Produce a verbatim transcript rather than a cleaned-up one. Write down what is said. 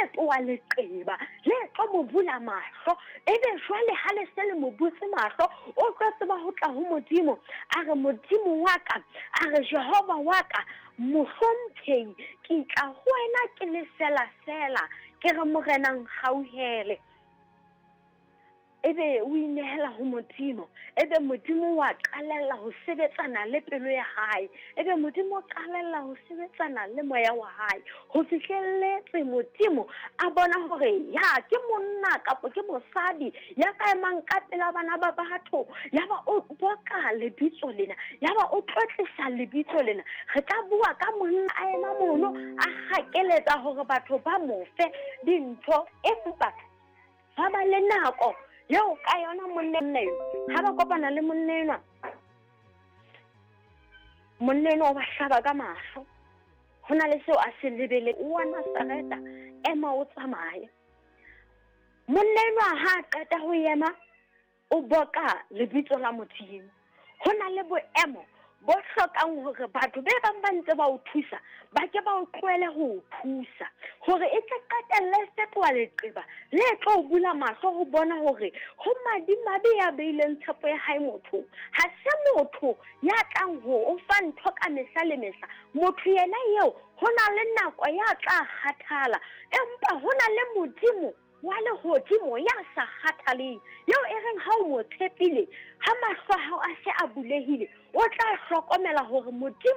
fetoha leqeba le tlo mo bula mahlo. Ebe jwale ha le se le mo butse mahlo, o tlo tseba ho tla ho Modimo. A re Modimo wa ka, a re Jehova wa ka, mohlomphehi, ke tla ho wena ke le fela fela, ke re Morena nkgauhele. Ebe o inehela ho Modimo, ebe Modimo wa qalella ho sebetsana le pelo ya hae, ebe Modimo o qalella ho sebetsana le moya wa hae, ho fihlelletse Modimo a bona hore ya ke monna kapa ke mosadi ya ka emang ka pela bana ba batho, ya ba o boka lebitso lena, ya ba o tlotlisa lebitso lena. Re tla bua ka monna a ema mono a hakeletsa hore batho ba mo fe dintho, empa ba ba le nako eo ka yona monna eo ha ba kopana le monna enwa, monna enwa o ba hlaba ka mahlo. Ho na le seo a se lebele, o wa Nazareta, ema o tsamaye. Monna enwa ha a qeta ho ema, o boka lebitso la Modimo. Ho na le boemo bo hlokang hore batho be bang ba ntse ba o thusa, ba ke ba o tlohele ho o thusa, hore e tle qetelle e fetoha leqeba le tlo o bula mahlo ho bona hore ho madimabe ya beileng tshepo ya hae mothong. Ha se motho ya tlang ho o fa ntho ka mehla le mehla. Motho yena eo ho na le nako ya tla kgathala, empa ho na le Modimo wa lehodimo ya sa kgathaleng, eo e reng ha o mo tshepile, ha mahlo a hao a se a bulehile, o tla hlokomela hore Modimo